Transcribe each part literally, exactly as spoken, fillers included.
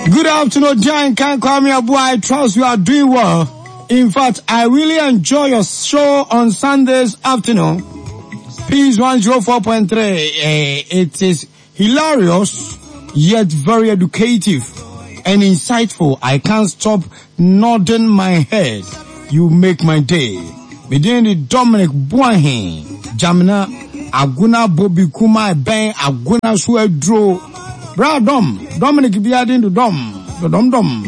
Good afternoon, Jan Kwame Abu. I trust you are doing well. In fact, I really enjoy your show on Sundays afternoon. Peace one zero four point three. Uh, it is hilarious, yet very educative and insightful. I can't stop nodding my head. You make my day. Medin Dominic Boahen, Jamina, Aguna Bobby Kuma, Ben, Aguna Suedro. Bra Dom, Dominic Biadin to Dom, the Dom Dom.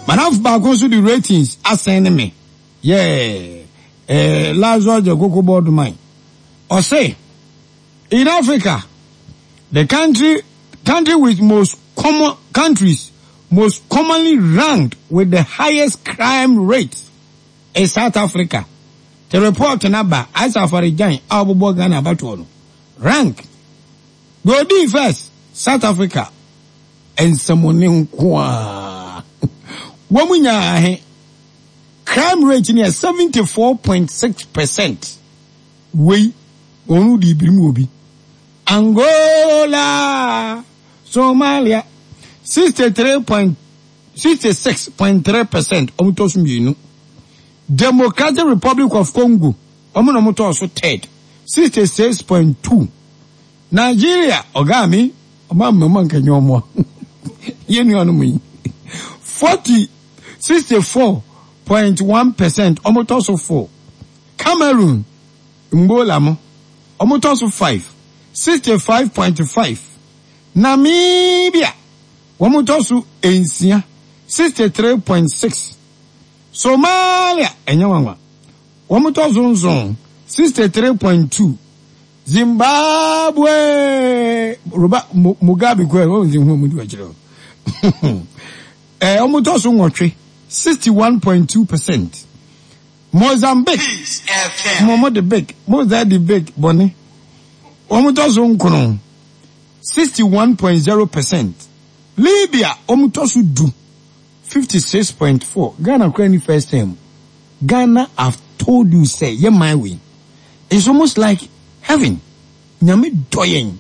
Manaf baako the ratings asɛn me. Yeah. Eh, Lazarus the Cocoa Board man. Or say, in Africa, the country, country with most common countries most commonly ranked with the highest crime rate is South Africa. The report number, as Afari Jan, Ghana Batuano. Rank. Go D first, South Africa. And someone kwa. Womunya crime rate near seventy-four point six percent. We onu di birimu. Angola, Somalia, sixty-three point sixty-six point three percent. Omutosu mienu. Democratic Republic of Congo, omu omutosu third, sixty-six point two. Nigeria, Ogami, omo mama nkanyo omo. Yenu onu mi. forty sixty-four point one percent. Omutosu four. Cameroon, Mbola mo, omutosu five, sixty-five point five. Namibia, omutosu ensia, sixty-three point six. Somalia, enyawanwa, omutosu nson, sixty-three point two. Zimbabwe, Roba Mugabe kwe, o nzi hu mu di wachiro. Eh, omutosu nwotwe, sixty-one point two percent. Mozambique, Momo the big, Moza the big, Bonnie. Omutosu nkono, sixty-one point zero percent. Libya, omutosu du, fifty-six point four. Ghana crying first time. Ghana, I've told you, say, yeah, my way. It's almost like heaven. Nyame doyen.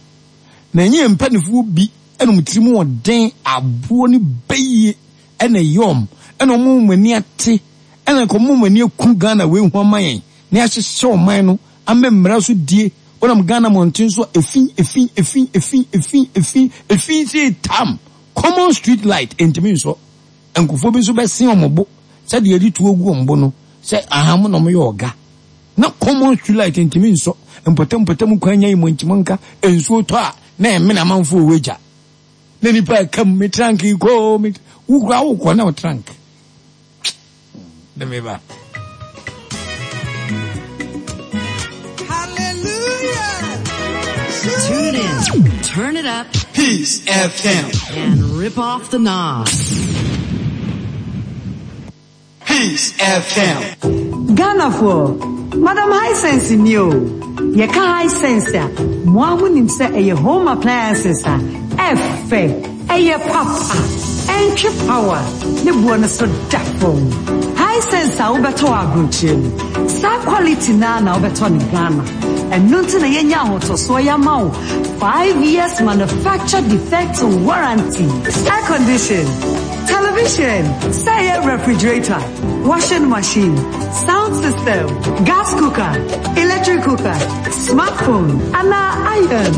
Na nye mpanifu bi eno mutirimu oden abuo ni beye ene yom eno mu mani ate ene ko mu mani ku Ghana we hu amayen na ahyehyɛ oman no amemra so die onam Ghana monten so efin efin efin efin efin efin efin say tam common street light entimi nso enkofo bi nso be sen omobo se de edi tuo gu ombo no se aham no mo ye oga na common street light entimi nso mpotem mpotem kwanya yi monchimonka ensuo to a na emme na manfo oweja na nipa kam me trunk ko me wukura wukọ na trunk de me ba. Hallelujah. Tune in, turn it up, Peace F M, and rip off the knob. Peace F M. Ghana for Madam Hisense new. Yeka Hisense, mo se eye home appliances F eye papa entry power ne bo no so da fom. Hisense a wobeto abrochi. Sa quality na na wobeto ni Ghana. Eno nti na yenya ahotoso ya ma wo five years manufacture defect warranty. Air condition, television, say refrigerator, washing machine, sound system, gas cooker, electric cooker, smartphone, and iron.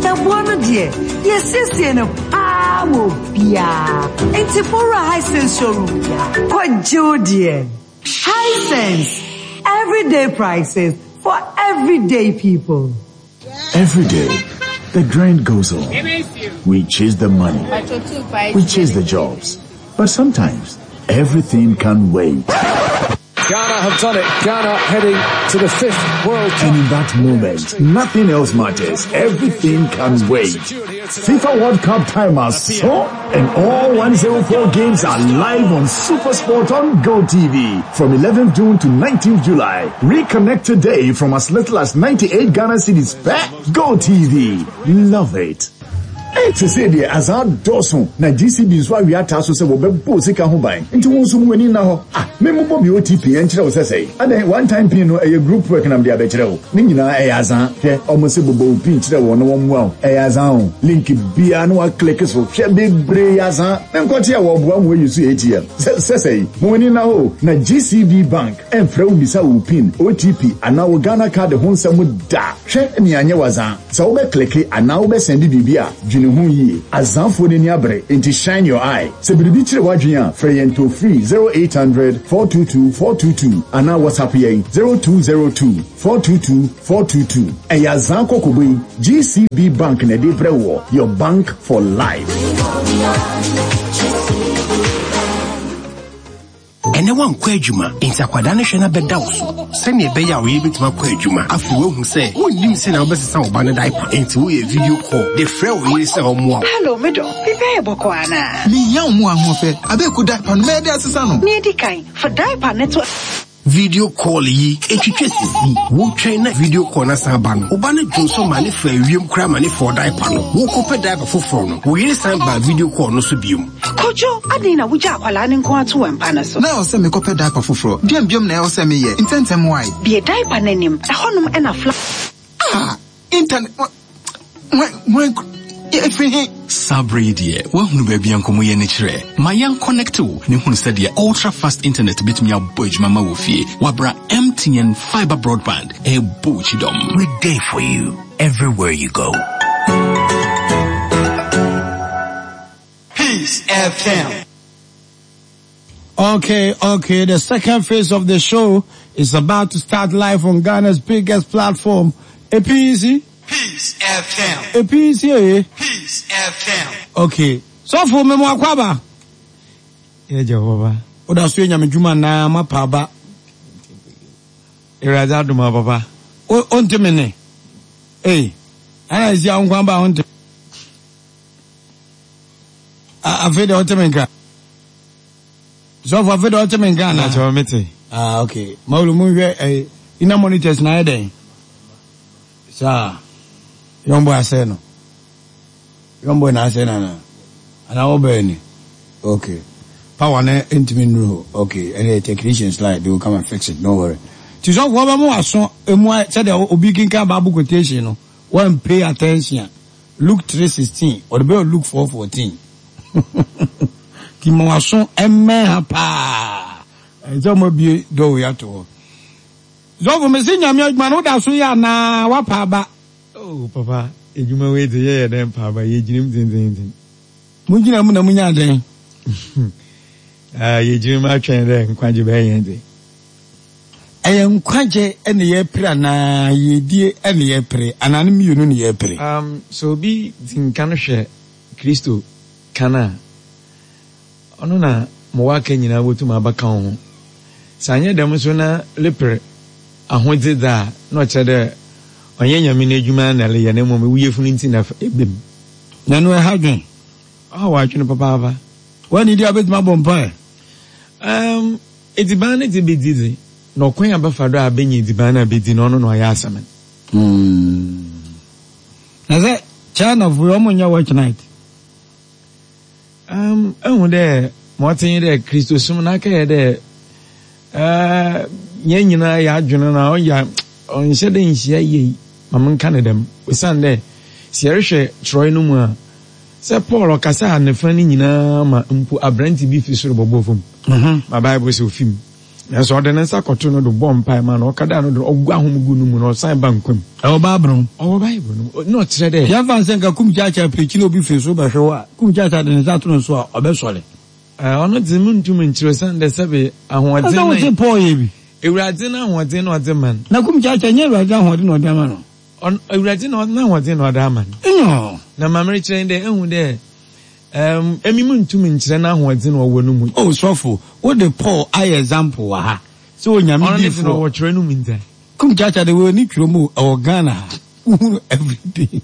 The one dear, yes, yes, no power bia. Intifora Hisense showroom. Kwajo dear. Hisense, everyday prices for everyday people. Every day, the grind goes on. We chase the money. We chase the jobs. But sometimes, everything can wait. Ghana have done it. Ghana heading to the fifth World Cup. And in that moment, nothing else matters. Everything can wait. FIFA World Cup time has so, and all one hundred four games are live on SuperSport on GoTV from eleventh June to nineteenth July. Reconnect today from as little as ninety-eight Ghana cedis per GoTV. Love it. Sese deɛ azan dɔɔso na G C B nso awie ataa so sɛ wɔbɛbɔ sika ho ban. Nti wo nso mu ani nna hɔ. Ah, me mobɔ me O T P ɛnkyerɛ wo sɛsɛe. Adɛn one time pin no ɛyɛ group work nam de abɛkyerɛ wo. Ne nyinaa ɛyɛ azan. Hwɛ, ɔmo se bobɔ wo pin kyerɛ wɔn na wɔn mmoa wo. Ɛyɛ azan o. Link biara na wa-click so. Hwɛ bebree azan. Menkɔte a wɔboa mo ayi so A T M. Sɛsɛe, mo ani nna hɔ na G C B Bank ɛmfrɛ wo bisa wo pin, O T P anaa wo Ghana card ho nsɛm da. Hwɛ nea anyɛ wazan. Sɛ wobɛkleke anaa wobɛsɛnde biribi a dwene ho yie. Azanfoɔ n'ani abere nti shine your eye. Sɛ biribi kyerɛ w'adwene a frɛ yɛn toll free zero eight hundred four two two four two two anaa WhatsApp yɛn zero two zero two four two two four two two. Ɛyɛ azan kɔkɔbɔ yi G C B Bank na ɛde brɛ wɔ, your bank for life. Ɛnɛ wankɔ adwuma nti akwadaa no hwɛ na bɛda wo so sɛnea ɛbɛyɛ a woyɛ bɛtumi akɔ adwuma. Afei woahu sɛ wonnim sɛ na wobɛsesa wo ba no diaper nti woyɛ video call de frɛ wo yere sɛ ɔmmoa wo. Hello, medɔ. Biribi ayɛ bɔkɔ anaa? Mehia wo mu ahoɔfɛ. Abɛɛku diaper no mɛyɛ de asesa no. Nea edi kan, fa diaper no to video call yi etwitwa sisi wotwɛn na video call na san ba no woba no dwonso ma ne fa awiem koraa ma ne fa diaper no wokɔpɛ diaper foforɔ no wo yere san ba video call no so biom. Kojo, adɛn na wogya akwalaa ne nko ato wɔ mpa no so? Na ɛwɔ sɛ mekɔpɛ diaper foforɔ. Deɛn biom na ɛwɔ sɛ meyɛ? Ntɛntɛm wae. Bie diaper n'anim. Ɛhɔnom ɛna fla. Ah, internet. When, when, ɛfiri he? Sabre deɛ, woahunu baabi a nkɔmmɔ yɛ ne kyerɛ. Ma yɛn connect wo ne hunu sɛdeɛ ultra fast internet bɛtumi abɔ adwuma ma wɔ fie. Wabra M T N fiber broadband ɛbɔ wo kyidɔm. We're there for you everywhere you go. Peace F M. Okay, okay. The second phase of the show is about to start live on Ghana's biggest platform, A P C. Peace F M. A P C, eh? Peace F M. Okay. So for me, mo akwaba. Yeah, Jehovah. Oda so nya me dwuma na ma pa ba. Iraza duma papa. O onte me ne. Eh. Ana isi ankwa ba onte. A afi de onte me nka. So for afi de onte me nka na. Na mete. Ah, okay. Maulu mu hwe eh ina monitors na eden. Sa yombo ase no. Yombo na ase na na. Ana wo ni. Okay. Power na ntimi nru. Okay. Any technicians like they will come and fix it. Don't worry. Ti so for ba mo aso emu said obi kinka Bible quotation no. One pay attention. Luke three sixteen or the Luke four fourteen. Ti mo aso emme ha pa. Ezo mo bi do ya to. Zo for me se nyame adwuma no da so ya na wa pa ba. Oh papa, edwuma we de ye den pa ba ye ginim tin tin tin. Mu gina mu na mu nya den. Ah, ye ginim atwen de nkwaje ba ye de. Eye nkwaje e na ye pre na ye die e na ye pre ana ne mienu na ye pre. Um so bi tinka no hwe Kristo kana. Ono na mo waka nyina wotum abaka ho. Sanye dem so na lepre ahodze da na o de onye nyame na adwuma na le ye na mom wuyefunu nti na ebem. Na no e hadwen. Ah wa adwene papa ava. Wani dia betima bompa. Um ediban na ti bedizi na okwan abafa do abenya ediban na bedi na ono na oya asamen. Hmm. Na ze China fu omo nya watch night. Um ehun de motin de Kristo sum na ka ye de eh nye nyina ya adwene na oya onhye de nhia ye ma menka ne dem osan de si erehwe Troy no mu a se Paul okasa ne fa ni nyina ma mpo abranti bi fi soro bobo fam. Mhm. Ma Bible se ofim. Na so ode ne nsa koto no do bompa ma na okada no do ogwa ahom gu no mu na osan ba nkwam. E wo Bible no. O Bible no. No kire de. Ya fa nsen ka kum chacha prechi na obi fi so ba hwe wa. Kum chacha de ne nsa to no so a obesore. Eh ono de muntum nkire san de sebe ahoɔden na. Ɔsɛ Paul ye bi. Ewurade na ahoɔden na ɔde man. Na kum chacha nye ewurade ahoɔden na ɔde ama no. On ewurade na ahoɔden na ɔde ama no. No. Na mamere kyerɛ de ehu de um emi muntum nkyerɛ na ahoɔden na ɔwɔ no mu. Oh sɔfo, wo de Paul ayɛ example wa ha. So onyame di fo. Ɔno ne wɔ kyerɛ no mu nta. Kum chacha de wo ni twere mu ɛwɔ Ghana ha. Wohunu everything.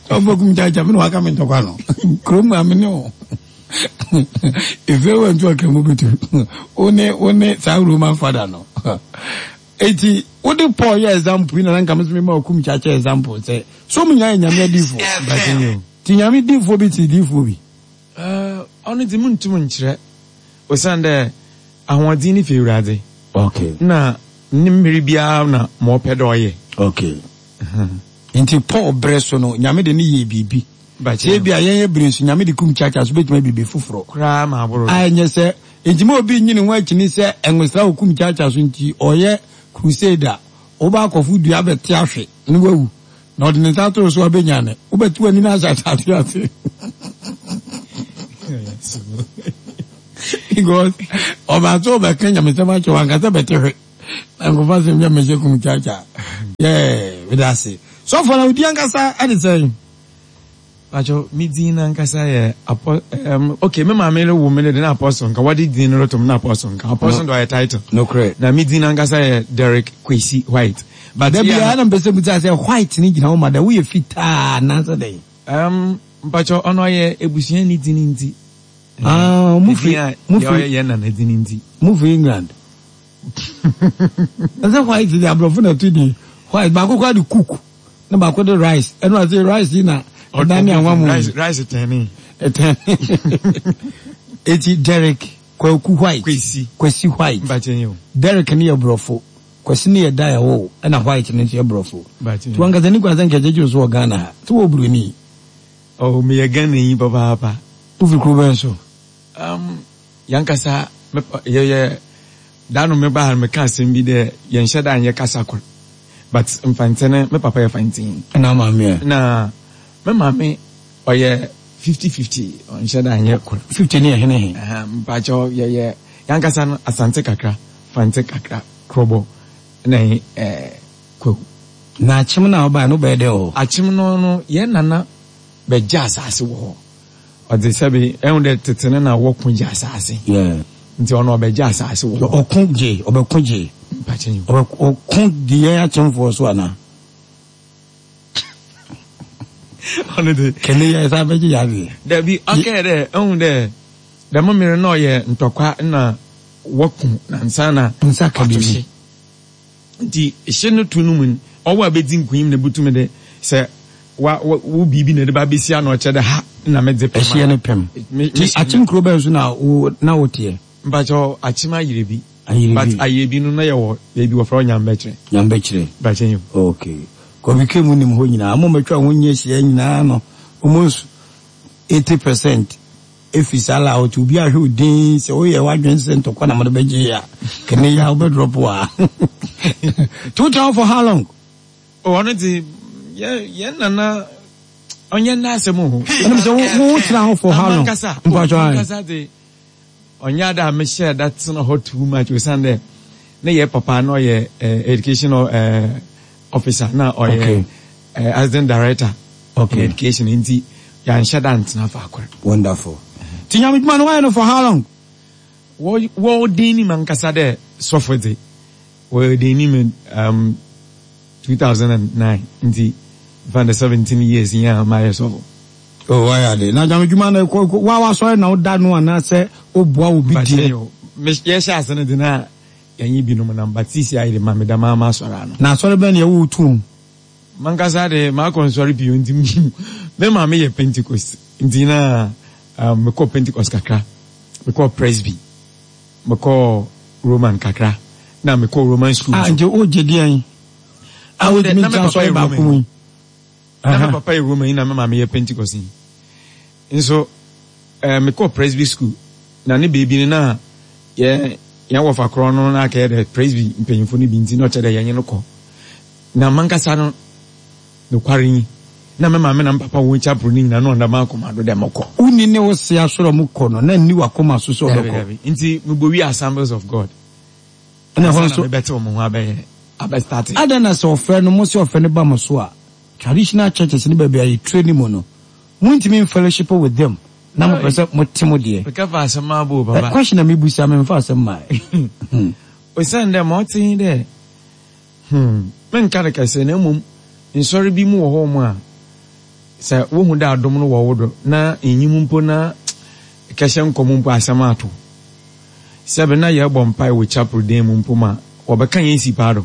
Sɔfo kum chacha me no aka me ntɔkwa no. Krom am ne o. If you went to a kremo betu. One one sa Roman father no. Eti wo Wode Paul yɛ example yi na na nka me nso mema Okum Kyakyɛ example sɛ so ɔmo nyinaa yɛ Nyame adiyifoɔ? Mpakyɛ o. Nti Nyame diyifoɔ bi te diyifoɔ bi? Eh, ɔno dze munntum nnkyerɛ osiandɛ ahoɔdzen no fi Ewuradze. Okay. Nna ne mber biara na ma ɔpɛ dɛ ɔyɛ. Okay. Nti Paul berɛ so no, Nyame de no yɛɛ biribi. Mpakyɛ Sɛ ebia yɛn yɛ bere nso, Nyame de Kum Kyakyɛ so betumi ayɛ biribi foforɔ. Koraa ma aboro A do. ɛnyɛ sɛ, nti ma obi nnye ne ho akyini sɛ ɛngosra wɔ Kum Kyakyɛ so nti ɔyɛ crusade a, wobɛ akɔfo dua abɛte ahwe na wawu, na ɔde ne nsa ato wo so a wobɛnya no, wobɛte w'ani no ahyɛ asase ase. Because ɔbaa sɛ ɔbɛka nyamesɛm akyerɛ wo, anka sɛ bɛte hwe. Na nkɔfa asɛm bi ammɛhyɛ Kum Kyakyɛ. Yeah, meda ase. Sɔfo, na wo din ankasa ɛde sɛn? Pacho, me dzin nankasa yɛ Apo um, okay, me maame no wo me no de na Apostle nka, wɔde dzin no roto me na Apostle nka. Apostle de ɔyɛ title. Nokorɛ. Na me dzin nankasa yɛ Derrick Kwesi White. But Da yeah, biara na mpɛ sɛ bisa sɛ white no gyina hɔ ma dɛn? Woyɛ fitaa anaasɛ dɛn? Um, mpacho, ɔno ɔyɛ ebusua ne dzin ntsi. Ah, mo Dzin firi, a mo yɛ firi, ɔyɛ yɛn nana dzin ntsi. mo firi England. Ɛsɛ white de aborɔfo na ɛto din. White, baako koraa de cook. Na baako de rice. Ɛno ase rice yi na ɛdan ne anwa mu. Rice, rice tɛnee. Ɛtɛnee. Eti Derrick Kwaku White. Kwesi. Kwesi White. Mpakyɛ yi o. Derrick ne yɛ borɔfo. Kwesi ne yɛ da ɛwɔ ɛna White ne nso yɛ borɔfo. Mpakyɛ yi. Ti wankasa ni kwan sɛ nkɛkyɛ kyi so wɔ Ghana ha. Ti wɔ buroni. Oh, meyɛ Ghana yi papaapa. Wofiri kuro bɛn so? Um, yankasa me yɛyɛ da no meba ha no meka asɛm bi dɛ yɛnhyɛ da nyɛ kasa kor. But Mfantse no, me papa yɛ Fantse. Ɛna maame ɛ? Na me maame ɔyɛ fifty fifty, ɔnhyɛ da nyɛ kor. Fifty ne yɛ hene he? Mpakyɛw yɛyɛ yankasa no Asante kakra, Fantse kakra, Krobo na eh, Kwahu. Na Akyem no a wobae no wobɛyɛ dɛn wɔ hɔ? Akyem no no yɛn nana bɛgye asase wɔ hɔ. Ɔdze sɛbe ɛhu dɛ tete no na wɔko gye asase. Yeah. Nti ɔno ɔbɛgye asase wɔ hɔ. Ɔko gye, ɔbɛko gye. Mpakyɛ yi. Ɔko di yɛn akyemfoɔ so anaa? Ɔno de. Kɛne yɛ sa bɛgye yɛ adeɛ. Dabi, ɔkɛɛ dɛ ɛhu dɛ dɛm mmere na ɔyɛ ntɔkwa na wɔko na nsa na nsa ka biribi. Nti hye no to no mu no, ɔwɔ a bɛdzi nkunyim na bɛtumi de sɛ wa wo biribi na ɛde ba bɛsi ano ɔkyɛ dɛ ha na medze pɛm. Ɛhyeɛ no pɛm. Nti Akyem kuro bɛn so na wo na woteɛ? Mpakyɛ Akyem Ayerebi. Ayerebi. But Ayerebi no na yɛwɔ baabi wɔfrɛ hɔ Nyambɛkyerɛ. Nyambɛkyerɛ. Mpakyɛ yi. Okay. Kɔbi K mu nim hɔ nyinaa. Mo mɛtwa ho nyɛ hyia nyinaa no almost eighty percent efi saa la ɔte obi ahwɛ odin sɛ woyɛ w'adwene sɛ ntɔkwa na mode bɛgye a kene ya wobɛdrɔpo a. Two thousand for how long? Oh, ɔno de yɛ yɛn nana ɔnyɛ nna asɛm o. Ɛnum sɛ wo wo tena hɔ for how long? Amankasa. Mpatsɔ ayi. Amankasa de ɔnyɛ ada a mehyɛ da tena hɔ too much osan dɛ ne yɛ papa na ɔyɛ educational uh, officer na ɔyɛ okay. uh, assistant director okay. in education nti yɛanhyɛ da ntena faakor. Wonderful. Ti nyame dwuma no wayɛ no for how long? Wɔ wɔ den nim ankasa dɛ sɔfo dze wɔ den nim um, two thousand nine nti fan the seventeen years yi a mayɛ sɔfo. Oh, wayɛ ade. Na nyame dwuma no kɔ wa wasɔre na woda no anaasɛ woboa wo bi deɛ? Yɛhyɛ ase no de na yɛnye binom nam but sisi ayɛ de ma meda maa ma asɔre ano. Na asɔre bɛn na yɛwɔ wo tuom? Mankasa de makɔ nsɔre pii nti me maame yɛ Pentecost nti na um, mekɔ Pentecost kakra, mekɔ Presby, mekɔ Roman kakra, na mekɔ Roman school. Ah, nti wogye deɛn? A wotumi ntra asɔre baako mu yi? Na me papa yɛ Roman na me maame yɛ Pentecost yi. Nso eh, mekɔ Presby school na ne beebi no na yɛ yɛn wɔfa korɔ no na akɛyɛ dɛ Presby mpanyinfo no bi nti na ɔkyɛ dɛ yɛnye no kɔ. Na mankasa no nokware yi na me maame na me papa wɔn chapel no nyinaa na ɔnda m'akoma do dɛ mɔkɔ. Wonni ne wo se asɔre a ɔmo kɔ no na nni w'akoma so sɛ ɔbɛkɔ. Dabi dabi nti mebɔ wi Assemblies of God. Ɛna ɛhɔ nso. Ansa na mebɛtew mo ho abɛyɛ abɛ start. Adɛn na sɛ ɔfrɛ no mo se ɔfrɛ no ba mo so a traditional churches ne baabi a yɛ train mu no montumi nfellowship with them na mopɛ sɛ mote mo deɛ. Meka fa asɛm abo o papa. Question na mebusa memfa asɛm mmae. Osiandɛ ma ɔtse nye dɛ, hmm, mennka no kɛse na mbom nsɔr bi mu wɔ hɔ mu a, sɛ wohu dɛ adom no wɔ wo do na innyim mpo na ekɛhyɛ nkɔm mpo a asɛm ato. Sɛbe nna yɛrobɔ mpae wɔ chapel dan mu mpo ma wɔbɛka hɛn si paa do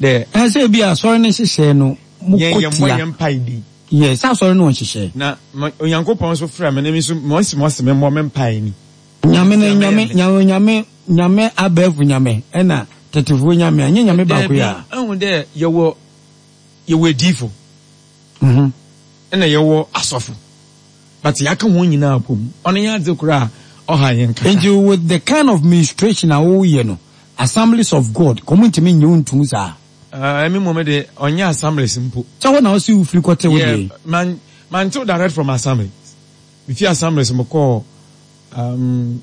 Dɛ. Ɛsɛ bi asɔre ne nhyehyɛe no mo Yɛn kɔ yɛmmɔ tia. yɛn mpae di. Yɛ sɛ asɔre no wɔ nhyehyɛe. Na ma- Onyankopɔn nso frɛ me na me nso mɔsi mɔsi me mmɔ me mpae ni. Nyame no nyame nyame nyame nyame abɛɛfo nyame ɛna tetefoɔ nyame a nyɛ nyame baako yi a. Daabi, ɛhu dɛ yɛwɔ yɛwɔ adiifo Mhm. ɛna yɛwɔ asɔfo. But yɛaka wɔn nyinaa bom. Ɔno yɛ adze koraa a ɔha yɛn kakra. Nti with the kind of ministration a woyɛ no, Assemblies of God, kɔmu ntumi nye wo ntum saa. Ah, ɛmi mmom de ɔnyɛ assemblies mpo. Sɛ hɔ na ɔsi wo firi kɔte wo Yeah, deɛ. man mantew direct from assemblies. Mefi assemblies mekɔɔ um,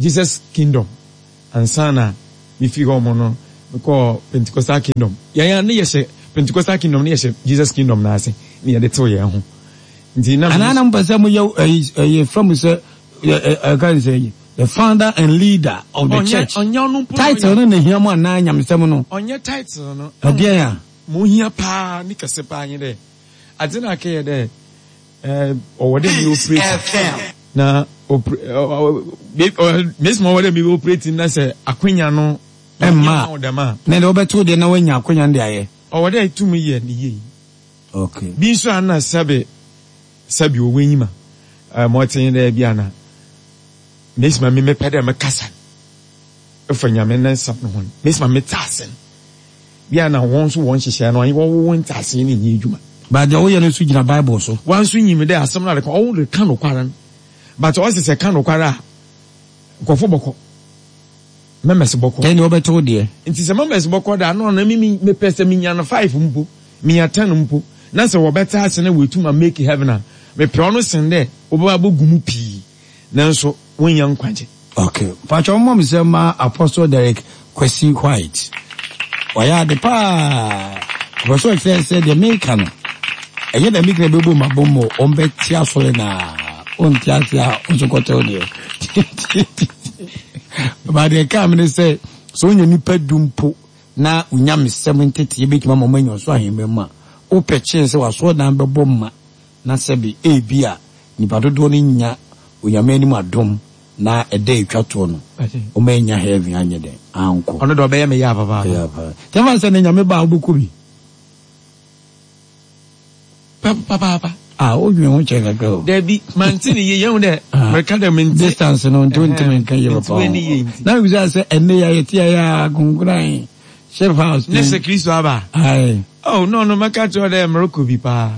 Jesus Kingdom ansa na mefi hɔ mo no mekɔɔ Pentecostal Kingdom. Yɛn a ne yɛhyɛ Pentecostal Kingdom ne yɛhyɛ Jesus Kingdom n'ase ne yɛde tew yɛn ho. Nti na Anaa na mpɛ sɛ moyɛ ɛyi ɛyɛ fɛ mu sɛ ɛ ɛ ɛka ne sɛ ɛyi the founder and leader of the Ɔnyɛ church. ɔnyɛ ɔno mpo na Title ɔyɛ no na hia mu anaa nyamesɛm no. ɔnyɛ title no. Ɛdeɛn a. Ma ohia paa ne kɛse paa nye dɛ adze na akɛyɛ dɛ ɛɛ ɔwɔ dɛ mi operate na opere ɔ mesi ma ɔwɔ dɛ mi operate na sɛ akwanya no Ɛmma. wo dɛm a Na deɛ wobɛto deɛ na woanya akonya no de ayɛ. ɔwɔ dɛ etum yɛ ne yie. Okay. Bi nso a na sɛbe sɛbe ɔwɔ enyim a ɛɛ ma ɔte dɛ bi ana mesi ma mi mepɛ dɛ mekasa efa Nyame ne nsɛm no ho no mesi ma mete ase no bi ana wɔn nso wɔn nhyehyɛ no wɔn wɔn nte ase ne nyɛ adwuma. But deɛ woyɛ no nso gyina Bible so. Wɔn nso nyim dɛ asɛm no adeka ɔwɔ de ka nokware no but ɔsi sɛ ka nokware a nkɔfo bɔkɔ members bɔkɔ. Ɛnni wobɛto deɛ. Nti sɛ members bɔkɔ da no na mi mi mepɛ sɛ minya no five mpo minya ten mpo na sɛ wɔbɛte ase na wɔatum a make heaven a mepɛ ɔno sen dɛ wɔbɛba abɛgu mu pii nanso wɔnya nkwagye. Okay. Pacho mom sɛ ma Apostle Derek Kwesi White. Wayɛ ade paa. Ɔpɛ sɛ ɔkyerɛ sɛ deɛ meka no ɛnyɛ dɛ meka bɛbɔ mu abɔ mu ɔmbɛte asɔre na ɔnte ase a ɔnso kɔtɛw deɛ. Ba deɛ kaa me ne sɛ sɛ wonya nipa du mpo na onyamesɛm nteteɛ bɛtumi ama ɔma anya ɔso ahemma mu a wopɛ kyɛn sɛ wasɔredan bɛbɔ ma na sɛbe ebi a nipa dodoɔ no nya Onyame anim adom na ɛda etwa toɔ no ɔma anya heaven anyɛ dɛn ankɔ. Ɔno de ɔbɛyɛ me yɛ apapaapa. Ɛyɛ paa. Kyɛfa sɛ ne Nyame ba a wobɛkɔ bi. Papaapa. Ah, wodwen ho kyɛ kakra o. Dabi, mante ne yie yɛn dɛ mɛka dɛ mente. Distance no nti wontumi nka yie papa ho. Na mebisa sɛ ɛnne yɛ yɛte yɛ a agongoran ship house. Ne sɛ Kristo aba. Aye. Oh no no mɛka kyerɛ dɛ merekɔ bi paa.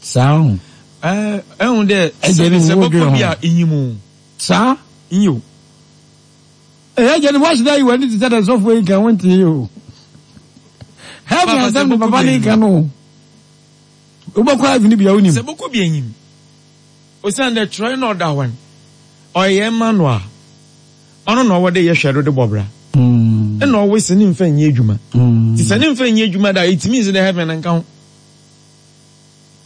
Saa ho. Ɛɛ ɛhu dɛ Ɛgye ne sɛ wo bɔkɔ dwen bi ho. a enyim o. Saa. Nyo. Ɛyɛ gye ne wahyɛ dɛ yi w'ani te sɛ dɛ sɔfo yi nka wonte yi o. Heaven Papa, sɛ asɛm ne bɔkɔ papa bi ne enyim. nka no. Wobɛkɔ heaven bi a wonim. Sɛ bɔkɔ bi enyim. Osiane dɛ twerɛ na ɔda hɔ no ɔyɛ ma no a ɔno na ɔwɔ dɛ yɛhwɛ do de bɔ bra. Ɛna ɔwɔ sɛ ne mfa nyɛ adwuma. Nti sɛ ne mfa nyɛ adwuma da ɛtumi nsi dɛ heaven nka ho.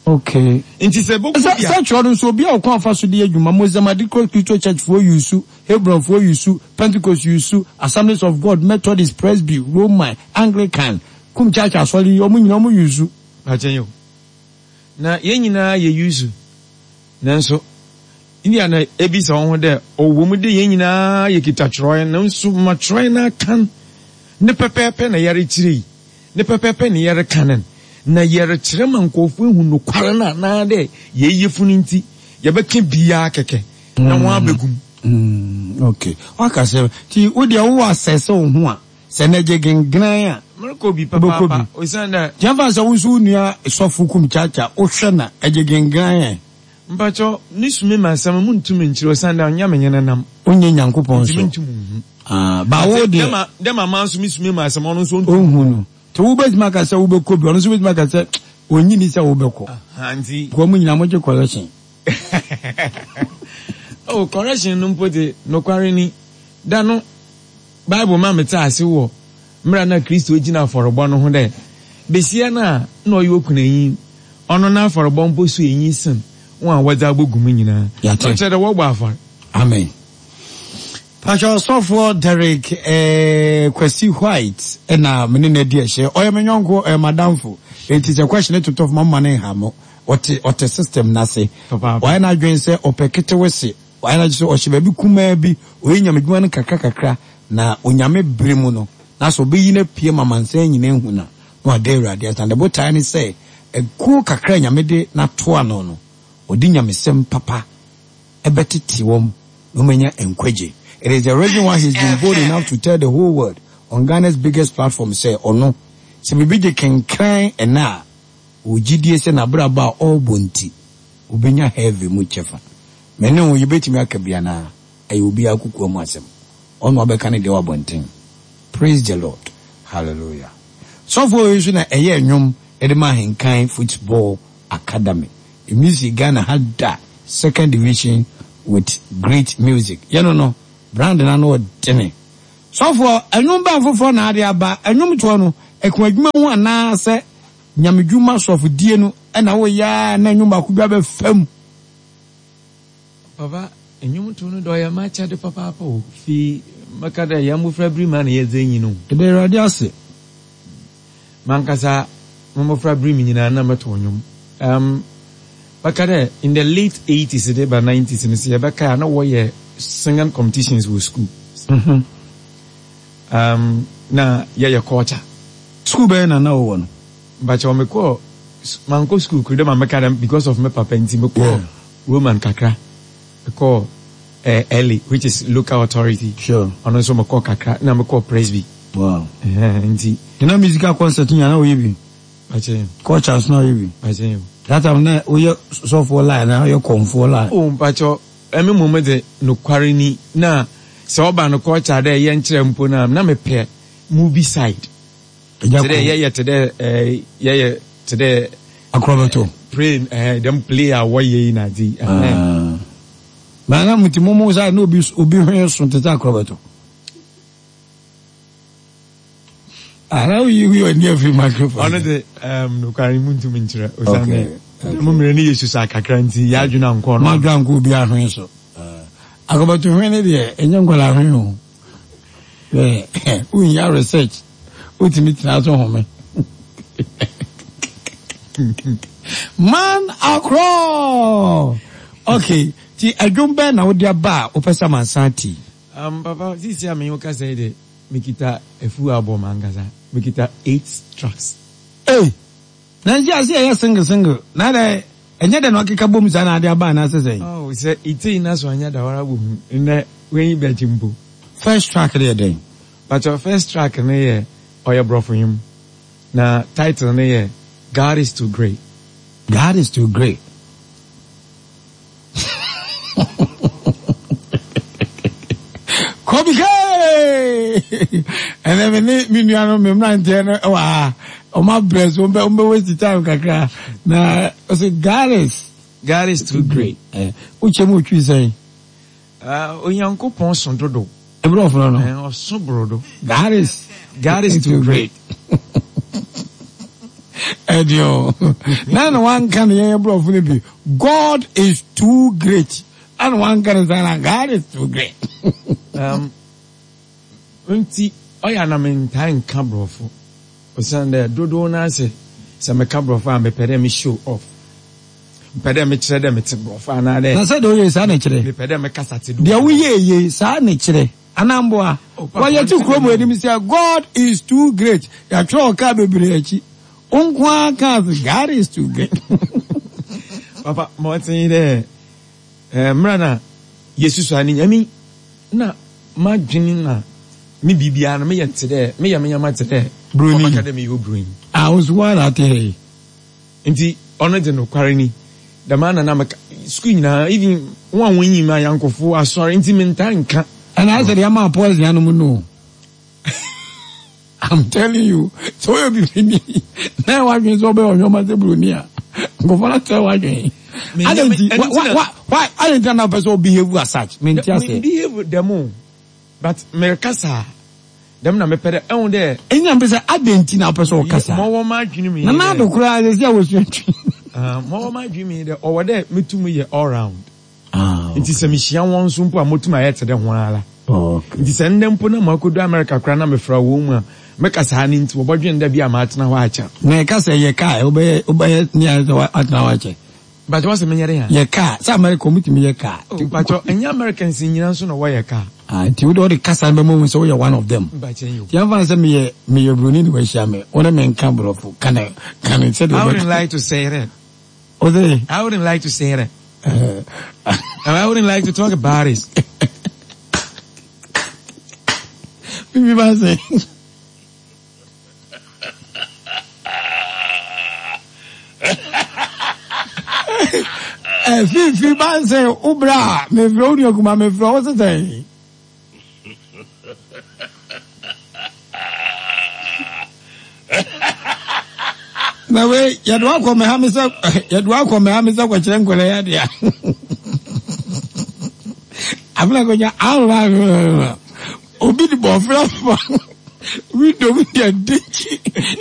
Okay. Nti sɛ bɔkɔ Sɛ bi a sɛ twerɛ no nso obi a ɔkɔ afa so de adwuma Mozambique Christo Church foɔ yusu, Hebron foɔ yusu, Pentecost yusu, Assemblies of God, Methodist, Presby, Roman, Anglican, Kum Church asɔre yi ɔmo nyinaa ɔmo yusu. Akyɛn yo. Na yɛn nyinaa yɛ yusu. Nanso India na ebisa wɔn ho dɛ ɔwɔ mu de yɛn nyinaa yɛ kita twerɛ nanso ma twerɛ no akan ne pɛpɛɛpɛ na yɛrekyerɛ yi ne pɛpɛɛpɛ na yɛreka no na yɛrekyerɛ ma nkurɔfoɔ ehu nokware no anaa dɛ yɛyɛ funu nti yɛbɛka biara kɛkɛ na wɔn abɛgum. Mm, okay. Waka sɛ ti wo deɛ wowɔ asɛsɛ wo ho a sɛ na gye gengran a Merekɔ bi wobɛkɔ papaapa bi. osiane dɛ Kyɛmfa sɛ wo nso wo nua sɔfo Kum Chacha wohwɛ na ɛgye gengran ɛ. Mpakyɛw ne sume ma asɛm mu ntumi nkyerɛ osiane dɛ ɔnyɛ me nyene nam. Wonyɛ Nyankopɔn Nti so. mentum nhu. Ah, ba wo deɛ. Dɛm a dɛm a maa nso me sume ma asɛm ɔno nso ɔntum. Ɔnhu no. Nti wobɛtumi aka sɛ wobɛkɔ bi ɔno nso bɛtumi aka sɛ ɔnyi ni sɛ wobɛkɔ. Aha, nti. Kɔ mu nyinaa mogye correction. Oh, correction no mpo de nokware ni. Da no Bible ma mete ase wɔ mmerɛ na Kristo gyina afɔrebɔ no ho dɛ besia no a na ɔyɛ okunanyi ɔno n'afɔrebɔ mpo so enyi sen wɔn a wɔdze abɔgu mu nyinaa. Yate. Ɔkyerɛ dɛ wɔbɔ afɔre. Amen. Pastor Sɔfoɔ Derek eh, Kwesi White ɛna mene no adi ɛhyɛ. Ɔyɛ me nyɔnko, ɔyɛ madamfo. Enti sɛ question totɔ fam ama ne nha mo. Ɔte ɔte system n'ase. Papaapa. Wayɛ n'adwene sɛ ɔpɛ ketewese. Wayɛ n'adwene sɛ ɔhyɛ baabi kumaa bi. Ɔyɛ nyamedwuma no kakra kakra na Onyame bere mu no Na sɛ ɔbɛyi no apue ma amansan nyinaa ahu no a, na wada Awurade ase. Na ne botaeɛ ne sɛ, akuo kakra a Nyame de no ato ano no, ɔde nyamesɛm papa bɛtete wɔn na wɔanya nkwagye. It is the reason why he's been bold enough to tell the whole world on Ghana's biggest platform sɛ ɔno, sɛ biribi gye kenkran ɛnnɛ a, ɔwɔ gyidie sɛ n'abrabɔ a ɔrebɔ nti, ɔbɛnya heaven mu kyɛfa. Me ne wo, yɛbɛtumi aka bi anaa? Ɛyɛ obiara kokoa mu asɛm. Ɔno ɔbɛka ne deɛ wɔ abɔnten. Praise the Lord. Hallelujah. Sɔfoɔ wei nso na ɛyɛɛ nnwom de ma Ahenkan Football Academy. Emi Ghana ha da second division with great music. Yɛno no, brand no ano ɔdene. Sɔfoɔ, ɛnwom bɛn foforɔ na ade aba? Ɛnwom toɔ no, ɛko adwuma ho anaasɛ nyamedwuma sɔfodie no ɛna woyɛ a na ɛnwom baako bi abɛfam? Papa, nnwom to no dɔ yɛ m'akyɛde papaapa o. Fi mɛka dɛ yɛn mmɔfra bere mu a na yɛdze enyi no. Ɛda Awurade ase. Mankasa mo mmɔfra bere mu nyinaa na mɛto nnwom. Um, mɛka dɛ in the late eighties de ba nineties no sɛ yɛbɛka a na wɔyɛ singing competitions wɔ school. Mm-hmm. Um, na yɛyɛ culture. School bɛyɛ na na wɔwɔ no? Mbakyɛ mekɔɔ mankɔ school kuro dɛ ma mɛka dɛ because of me papa nti mekɔɔ Yeah. Roman kakra. Mekɔɔ eh, L A, which is local authority. Sure. Ɔno nso mekɔɔ kakra na mekɔɔ Presby. Wow. Ɛhɛn, nti. Na musical concert nyinaa na woyɛ bi? Mpakyɛ. Culture nso na woyɛ bi? Mpakyɛ. That time na woyɛ sɔfoɔ line na woyɛ kɔnfoɔ line? Oh, mpakyɛ, ɛme mmom de nokware ni na sɛ ɔba no culture dɛ yɛnkyerɛ mpo na na mepɛ movie side. Ɛgya Te dɛ kɔ. yɛyɛ te dɛ eh, yɛyɛ te dɛ Akorɔbɛto. Play, eh, dɛm play a wɔyɛ yi na adze yi. Ɛhɛn. Ah. Na na mo ti mo mo side na obi obi hwene so te sɛ akorɔbɛto. Ah, na woyi wi ɔni afiri microphone. Ɔno de um, nokware mu ntumi nkyerɛ osiane Okay, okay. mo mmerɛ no yɛ susu akakra nti yɛadwene ankɔ no. Mo adwene ankɔ obi ahwene so. Akorɔbɛto hwene deɛ ɛnyɛ nkwadaa hwene o. Ɛ wonya research wotumi tena so home. Man akorɔ. Okay, ti adwom bɛn na wode aba a wopɛ sɛ amansan ti? Um, papa, sisi a menye wo kasa yi de, mekita afu album ankasa. Mekita eight tracks. Ei! Na nsi ase ɛyɛ single single. Na dɛ ɛnyɛ dɛ na ɔkeka bom saa na ade aba anaasɛ sɛn? Oh, sɛ itei na so anya da wara bohu. Nnɛ, w'enyi bɛgye mpo. First track no yɛ dɛn? Pakyɛ, first track no yɛ ɔyɛ borɔfo nnwom. Na title no yɛ God is Too Great. God is Too Great. Kobe K! Ɛnɛ me ne me nua no me mmeranteɛ no wɔ ha. Ɔmo abrɛ so ɔmo bɛ waste time kakra. Na ɔsɛ God is God is too great. Eh, wokyɛ mu otwi sɛn? Uh, Onyankopɔn so dodo. Ebere ɔfono no. Eh, ɔso borodo. God is God is too great. Ɛdi o. Na na wanka ne yɛn borɔfo no bi. God is too great. Ɛna wanka ne saa na God is too great. Um, nti ɔyɛ anam ntaa nka borɔfo. Osiane dɛ dodow no ase sɛ meka borɔfo a mepɛ dɛ me show off. Mepɛ dɛ mekyerɛ dɛ mete borɔfo anaa dɛ. Na sɛ deɛ woyɛ saa na kyerɛ. Mepɛ dɛ mekasa te do. Deɛ woyɛ yie saa na kyerɛ. Anamboa. Oh, papa, Wɔyɛ te kurom ɔnte anim sɛ God is too great. Yɛatwerɛ ɔkaa bebree akyi. Wo nko ara kaa sɛ God is too great. Papa, ma ɔte yi dɛ eh, mmerɛ na yɛsusu ani nyame na madwene na me biribiara no meyɛ te dɛ meyɛ me nyama te dɛ Broni. ɔbɛka dɛ meyɛ obroni. Ah, wo nso woara na ate ha yi. Nti ɔno de nokware ni dɛm ana na meka sukuu nyinaa even wɔn a wɔnyim ayankofo asɔre nti mentaa nka. Ɛna ayɛ sɛ deɛ ama poison anom no. I'm telling you, sɛ woyɛ bibini na ɛwɔ adwene sɛ wobɛyɛ ɔnwoma sɛ buroni a, nkɔfoɔ no atɛ w'adwene. Me- Adɛn nti, ɛno nti why, na- why, why, adɛn nti na na wopɛ sɛ wo behave as such? Mente Me aseɛ. behave dɛm o but merekasa a dɛm na mepɛ dɛ ɛho dɛ. Ɛnyɛ na mpɛ sɛ adɛn nti na wopɛ sɛ wokasa? Ma ɔwɔ m'adwene mu yi Na dɛ. na ado koraa sɛ sɛ a wɔsua twi. Ah, ma ɔwɔ m'adwene mu yi dɛ ɔwɔ dɛ metum yɛ all round. Ah, Nti sɛ mehyia wɔn nso mpo a motum ayɛ te dɛ ho ara. okay. Nti sɛ ndɛ mpo na makodu America koraa na mefra wɔn mu a meka saa no nti wɔbɔdwen dɛ bi a maatena hɔ akyɛ. Na ɛka sɛ yɛ kaa wobɛyɛ wobɛyɛ ne ayɛ sɛ watena hɔ akyɛ. Mpakyɛ wɔsɛ menyɛ dɛ a. Yɛ kaa sɛ America ɔmutumi yɛ kaa. Oh, mpakyɛ ɛnyɛ Americans nyinaa nso na wɔyɛ kaa. Ah, nti wode wode kasa no bɛma hu sɛ woyɛ one of them. Mpakyɛ yo. Yɛmfa no sɛ meyɛ meyɛ buroni ne wahyia me, wo ne me nka borɔfo, ka ne ka ne sɛdeɛ I wouldn't wobɛka. like to say that. Wo se? I wouldn't like to say that. And I wouldn't like to talk about it. Bibi ba se. Eh, Fifi ba se, wo bra a, mefrɛ wo nua kuma mefrɛ wo se sɛn? Na wei yɛde wakɔ me ha me sɛ yɛde wakɔ me ha me sɛ kɔkyerɛ nkɔla yi adeɛ a afei kɔnya ahorow obi de bɔfra fa window mu deɛ dikyi.